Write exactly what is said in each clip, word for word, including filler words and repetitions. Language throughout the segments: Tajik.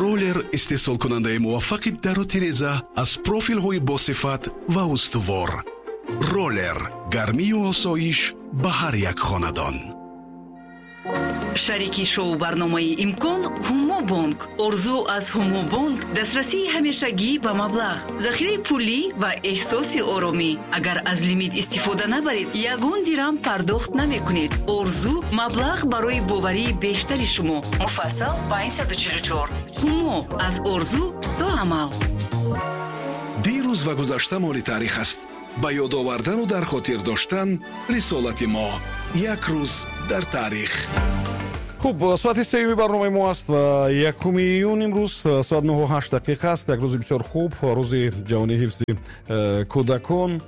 Роллер, истеҳсолкунандаи муваффақи дару тиреза аз профилҳои босифат ва устувор. Роллер, гармию осоиш ба ҳар як хонадон. Шарики шоу барномаи «Имкон» Ҳумобонк. Орзу аз Ҳумобонк дастрасии ҳамешагӣ ба маблағ, захираи пулӣ ва эҳсоси оромӣ. Агар аз лимит истифода набаред, ягон дирам пардохт намекунед. Орзу маблағ барои боварии бештари шумо. Муфассал панҷсаду чилу чор. Ҳумо, аз орзу то амал. Дирӯз ва гузашта моли таърих аст. Ба ёд овардану дар хотир доштан рисолати мо. Як рӯз дар таърих. Хуб, соати сеюми барномаи мо аст ва якуми июн имрӯз, соат нӯҳу ҳашт дақиқа аст. Як рӯзи бисёр хуб, Рӯзи ҷаҳонии ҳифзи э, кӯдакон.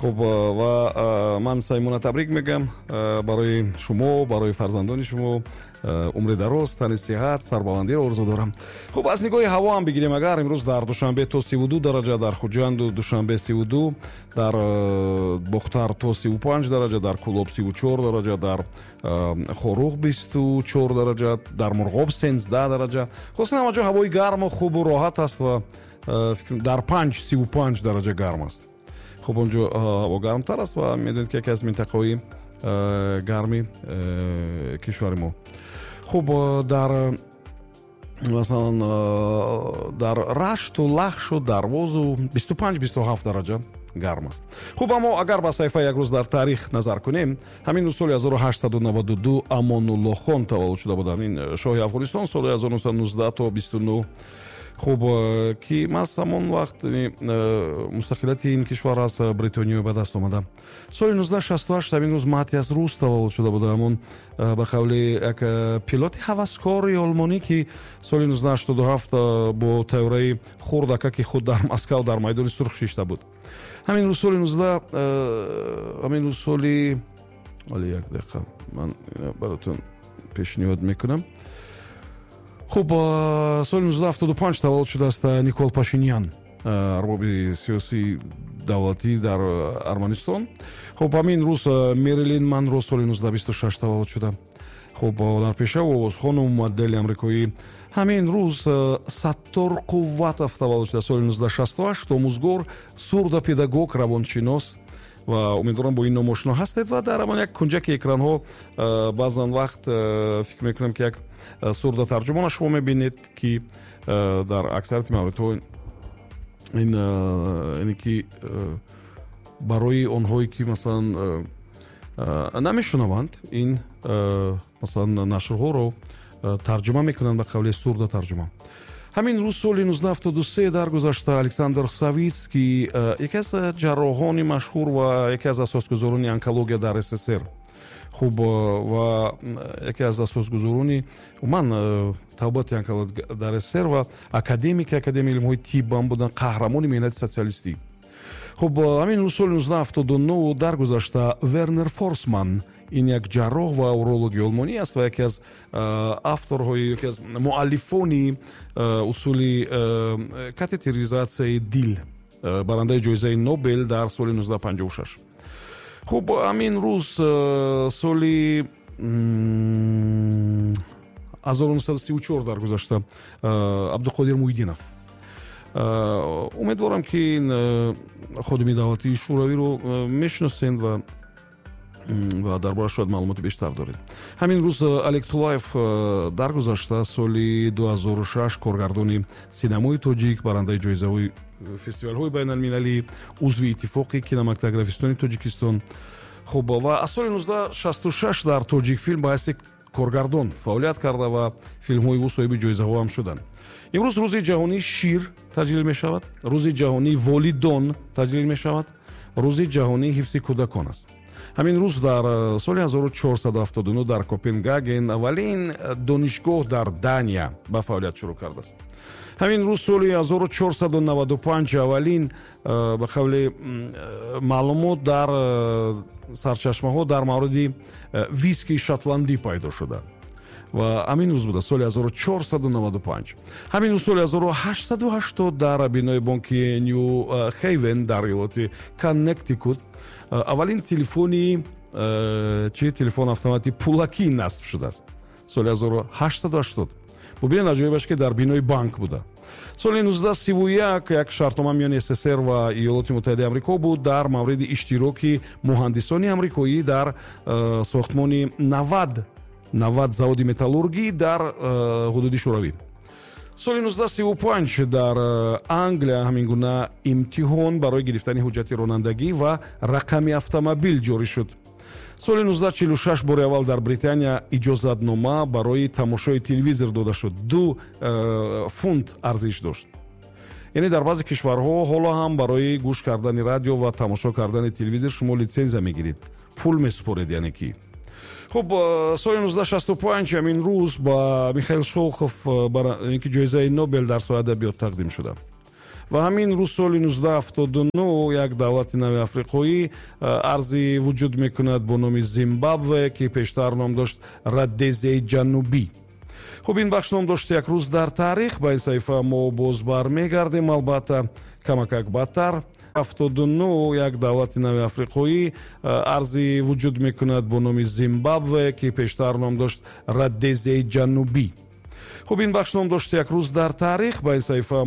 Хуб, ва э, ман самимона табрик мегӯям э, барои шумо, барои фарзандони шумо умри дароз, тани сиҳат, сарбаландиро орзу дорам. Хуб, аз нигоҳи ҳаво ҳам бигирем агар, имрӯз дар Душанбе то сиву ду дараҷа, дар Хуҷанду Душанбе сиву ду, дар Бохтар то сиву панҷ дараҷа, дар Кӯлоб сиву чор дараҷа, дар Хоруғ бисту чор дараҷа, дар Мурғоб сенздаҳ дараҷа. Хулоса, ҳама ҷо ҳавои гарму хубу роҳат аст ва дар Панҷ сиву панҷ дараҷа гарм аст. Хуб, он ҷо ҳаво гармтар аст ва медонед, ки яке аз минтақаҳои гарми кишвари мо. Хуб, дар масалан дар Рашту, Лахшу, Дарвозу бисту панҷ, бисту ҳафт дараҷа гарм аст. Хуб, аммо агар ба саҳифаи «Як рӯз дар таърих» назар кунем, ҳамин рӯз соли ҳазору ҳаштсаду наваду ду Амонуллохон таваллуд шуда буданд. Ин шоҳи Афғонистон соли ҳазору нӯҳсаду нуздаҳ то бисту нӯҳ. Хуб, ки маҳз ҳамон вақт мустақилияти ин кишвар аз Бритониё ба даст омада. Соли нуздаҳ шасту ҳашт ҳамин рӯз Матиас Рус таваллуд шуда буда, ҳамон ба қавли як пилоти ҳаваскори олмонӣ, ки соли нуздаҳ ҳаштоду ҳафт бо тайёраи хурдакаки худ дар Москав дар Майдони Сурх шишта буд. Ҳамин рӯз соли нуздаҳ, ҳамин рӯз соли, ҳоли як дақиқа, ман баротон пешниҳод мекунам. Хуб, соли нуздаҳ ҳафтоду панҷ таваллуд шудааст Никол Пашинян, арбоби сиёсии давлатӣ дар Арманистон. Хуб, ҳамин рӯз Мерилин Монро соли нуздаҳ бисту шаш таваллуд шуда. Хуб, ҳунарпешаву овозхону модели амрикоӣ. Ҳамин рӯз Саттор Қувватов таваллуд шуда соли нуздаҳ шасту ҳашт, омӯзгор, сурдопедагог, равоншинос ва умедворам, бо ин ном ошно ҳастед ва дар ҳамон як кунҷаки экранҳо баъзан вақт фикр мекунам, ки як сурдотарҷумона шумо мебинед, ки дар аксарияти мавридҳо ин ине ки барои онҳое ки масалан намешунаванд, ин масалан нашрҳоро тарҷума мекунанд, ба қавли сурдотарҷума. Ҳамин рӯз соли нуздаҳ ҳафтоду се даргузашта Александр Савитский, яке аз ҷарроҳони машҳур ва яке аз асосгузорони онкология дар С С С Р. Хуб, ва яке аз асосгузорони умуман табобати онкология дар С С С Р ва академики Академияи илмҳои тиб ҳам буданд, Қаҳрамони меҳнати социалистӣ. Хуб, ҳамин рӯз соли нуздаҳ ҳафтоду нӯҳ даргузашта Вернер Форсман. Ин як ҷарроҳ ва урологи олмонӣ аст ва яке аз авторҳои, яке аз муаллифони усули катетеризатсияи дил, барандаи ҷоизаи Нобел дар соли нуздаҳ панҷоҳу шаш. Хуб, ҳамин рӯз соли ҳазору нӯҳсаду сию чор даргузашта Абдуқодир Муҳиддинов. Умедворам, ки ин ходими давлатии шӯравиро мешиносед ва ва дар борааш шояд маълумоти бештар доред. Ҳамин рӯз Олег Тулаев даргузашта соли ду ҳазору шаш, коргардони синамои тоҷик, барандаи ҷоизаҳои фестивалҳои байналмилалӣ, узви Иттифоқи кинематографистони Тоҷикистон. Хуб, ва аз соли нуздаҳ шасту шаш дар Тоҷикфилм ба ҳайси коргардон фаъолият карда ва филмҳои ӯ соҳиби ҷоизаҳо ҳам шуданд. Имрӯз Рӯзи ҷаҳонии шир таҷлил мешавад, Рӯзи ҷаҳонии волидон таҷлил мешавад, Рӯзи ҷаҳонии ҳифзи кӯдакон аст. Ҳамин рӯз дар э, соли ҳазору чорсаду ҳафтоду нӯҳ дар Копенгаген аввалин донишгоҳ дар Дания ба фаъолият шурӯъ кардааст. Ҳамин рӯз соли ҳазору чорсаду наваду панҷ аввалин э, ба қавли э, маълумот дар сарчашмаҳо дар мавриди виски шотландӣ пайдо шуда ва ҳамин рӯз буда, соли ҳазору чорсаду наваду панҷ. Ҳамин рӯз соли ҳазору ҳаштсаду ҳаштод дар бинои бонки Ню Хейвен дар иёлоти Коннектикут аввалин телефони чи телефон автомати пулакӣ насб шудааст, соли ҳазору ҳаштсаду ҳаштод. Бубинед, аҷоибаш, ки дар бинои банк буда. Соли нуздаҳ сиву як як шартнома миёни С С С Р ва Иёлоти Муттаҳидаи Амрико буд дар мавриди иштироки муҳандисони амрикоӣ дар э, сохтмони навад навад заводи металлургӣ дар э, ҳудуди Шӯравӣ. Соли нуздаҳ сиву панҷ дар э, Англия ҳамин гуна имтиҳон барои гирифтани ҳуҷҷати ронандагӣ ва рақами автомобил ҷорӣ шуд. Соли нуздаҳ чилу шаш бори аввал дар Британия иҷозатнома барои тамошои телевизор дода шуд, ду э, фунт арзиш дошт. Яъне дар баъзе кишварҳо ҳоло ҳам барои гӯш кардани радио ва тамошо кардани телевизор шумо литсензия мегиред, пул месупоред. Яъне ки хуб, э, соли нуздаҳ шасту панҷ ҳамин рӯз ба Михаил Шолохов э, ки ҷоизаи Нобел дар соҳаи адабиёт тақдим шуда. Ва ҳамин рӯз, соли нуздаҳ ҳафтоду нӯҳ, як давлати нави африқоӣ э, арзи вуҷуд мекунад бо номи Зимбабве, ки пештар ном дошт Родезияи Ҷанубӣ. Хуб, ин бахш ном дошт «Як рӯз дар таърих». Ба ин саҳифа мо боз бармегардем, албатта, камакак баъдтар. Ҳафтоду нӯҳ як давлати нави африқоӣ э, арзи вуҷуд мекунад бо номи Зимбабве, ки пештар ном дошт Родезияи Ҷанубӣ. Хуб, ин бахш ном дошт «Як рӯз дар таърих». Ба ин саҳифа